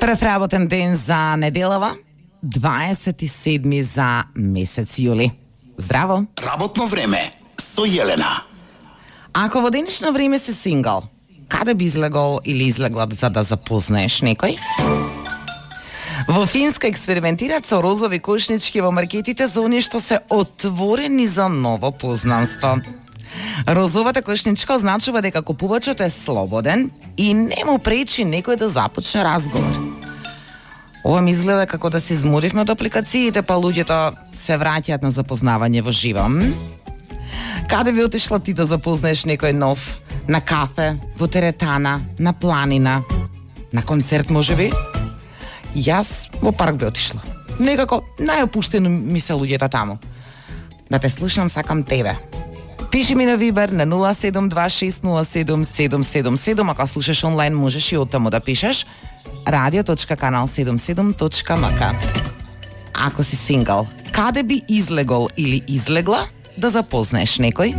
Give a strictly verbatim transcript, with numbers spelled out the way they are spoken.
Прв работен ден за неделава, дваесет и седми за месец јули. Здраво! Работно време со Јелена. Ако во денешно време си сингал, каде би излегол или излегла за да запознаеш некој? Во Финска експериментираат со розови кошнички во маркетите за оние што се отворени за ново познанство. Розовата кошничка означува дека купувачот е слободен и не му пречи некој да започне разговор. Ова ми изгледа како да се изморивме од апликациите, па луѓето се враќаат на запознавање во живо. Каде би отишла ти да запознаеш некој нов? На кафе, во теретана, на планина, на концерт можеби? Јас во парк би отишла. Некако најопуштено ми се луѓето таму. Да те слушам, сакам тебе. Пиши ми на Вибер на нула седум два шест нула седум седум седум седум. Ако слушаш онлайн, можеш и оттаму да пишеш радио точка канал седумдесет и седум точка ем ка. Ако си сингал, каде би излегол или излегла да запознаеш некој?